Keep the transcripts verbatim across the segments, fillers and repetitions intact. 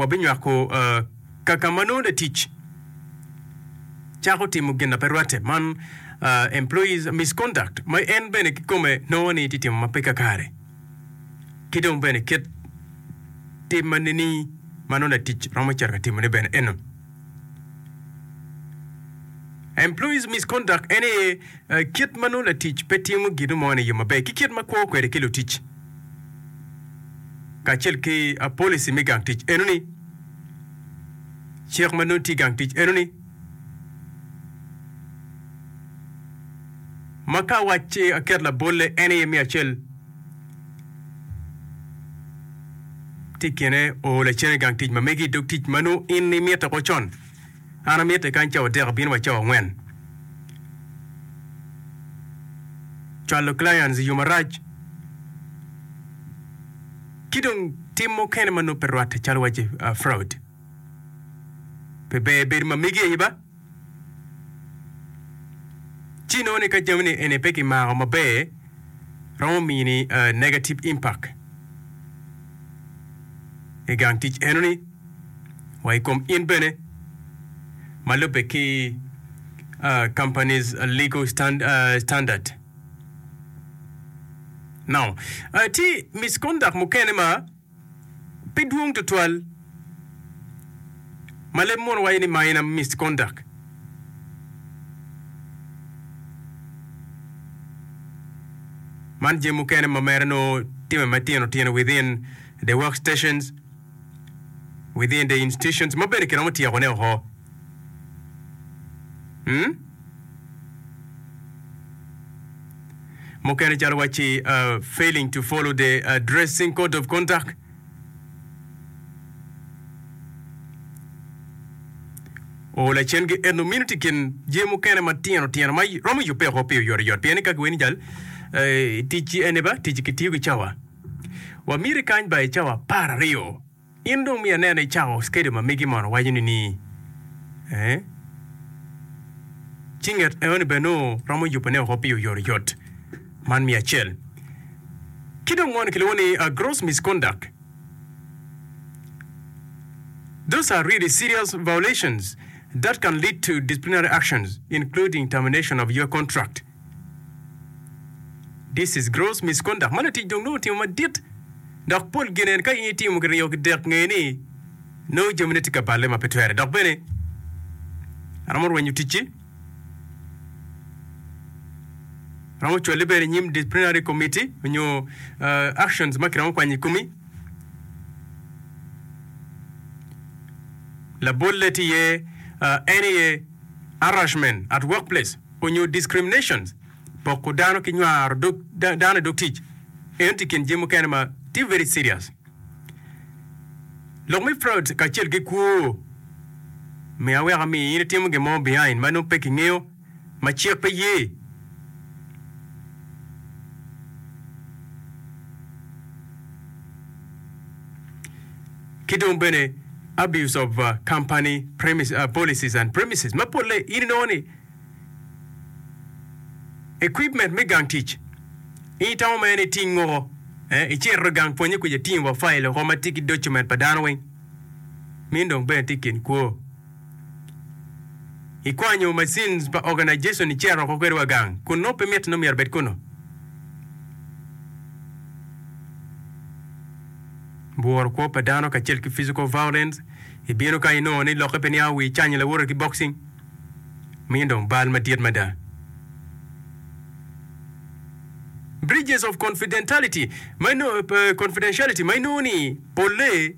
Wabinywako uh, kaka ma nongo latic cako timo gin na pe rwatte man uh, employees misconduct ma en bene kikome nongo ni tye timo ma pe kakare ki dong bene kit tim ma nini ma nongo latic romo cito ka timone bene eno. Employees misconduct en aye uh, kit ma nongo latic pe timo gino mo ni yo maber ki kit ma kwo kwede ki lutic kacel ki uh, policy me gang tic eno ni cik ma nongo tye i gang tic eno ni ma ka wacci aket labolle en aye me acel tye i kine o lacen i gang tic ma megi i dog tic ma nongo in imito ko con an amite kany cawa adek abino wa cawa angwen cwalo clients i yo marac ki dong tim mukene ma nongo pe rwatte calo waci uh, fraud pe ber bedo ma megi aye ba ci nongo ni ka jami ni eni pe kimako maber romo mini uh, negative impact i gang tic eno ni wa i kom in bene ma lubbe ki uh, company's legal stand, uh, standard now uh, tye misconduct mukene ma pe dwong tutwal ma leb mono waco ni minor misconduct man jami mukene ma mere nongo time matino tino within the work stations within the institutions ma bene kiromo tyekone oko hmm? Mukene calo wacci uh, failing to follow the uh, dressing code of conduct o lacen gi eno mino tye i kin jami mukene matino tino ma romo yubbe oko pi oyotoyot pien ni ka giweni jal eh, tic eni ba tic kitiyo ki cawa wamiti kany ba i cawa apar aryo in dong miyo aneno icako schedule ma megi mono waco ni ni eh, ci nget enoni bene nongo romo yubone oko pi oyotoyot man miyo acel ki dong mono kilwongo ni uh, gross misconduct Those are really serious violations that can lead to disciplinary actions, including termination of your contract. This is gross misconduct. Ma latic dong nongo otimo madit dok pol ginen ka in itimo kiryo kidek nge ni nongo jamine tye ka balle ma pe twere dok bene aromo rwenyo ticci romo cwali bene i nyim disciplinary committee onyo uh, actions ma kiromo kwanyo i komi Labolle tye iye en aye harassment at workplace onyo discriminations, poko dano ki nywaro dog dano i dog tic. Eno tye i kin jami mukene ma tye very serious. Lok me fraud kacel ki kwo me aweka mi in itimo gin mo behind ma nongo pe kingeyo ma cik pe ye. Ki dong bene abuse of company policies and premises ma polle in inongo ni equipment me gang tic in itamo mere ni itingo icito i gang pwonye kuca itingo wa file oko ma tye ki document pa dano weng meno dong bene tye i kin kwo. Ikwanyo machines pa organization icito oko kwede wa gang kun nongo pe mitte ni myero obed kunu. Bworo kwo pa dano kacel ki physical violence, ibino kany inongo ni lokke pe niango wi icanyo lawote ki boxing, meno dong bal madit mada. Breaches of confidentiality ma inongo, confidentiality ma inongo ni polle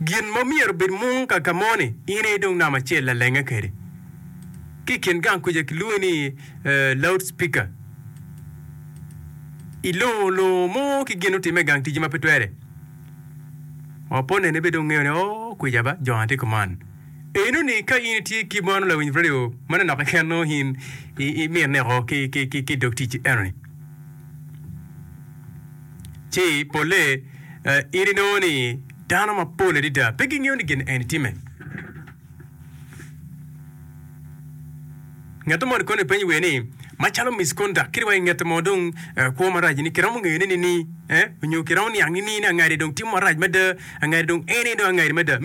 Gin ma myero obed mung ka ka mo-ni, in aye dong namba acel lalenge kwede. Ki i kin gang kuca kilwongi ni loud speaker. Ilongo longo mo ki gin otimme i gang ticci ma pe twere. Wa po nene bed dong ngeyo ni oo kwica ba jo na tye kuman. Eno ni ka in itye ki mono lawiny radio manonok keken nongo in imine oko ki i dog ticci eno ni. Ci polle in inongo ni dano mapol adada pe gingeyo ni gin eni timme. Ngat mo kono ipenyo wiye ni, macalo misconduct kadi wa i nget mo dong kwo marac ni kiromo ngeyo ne nini? Nyo kiromo niang nini ni angadi dong timo marac mada, angadi dong en aye dong angadi mada?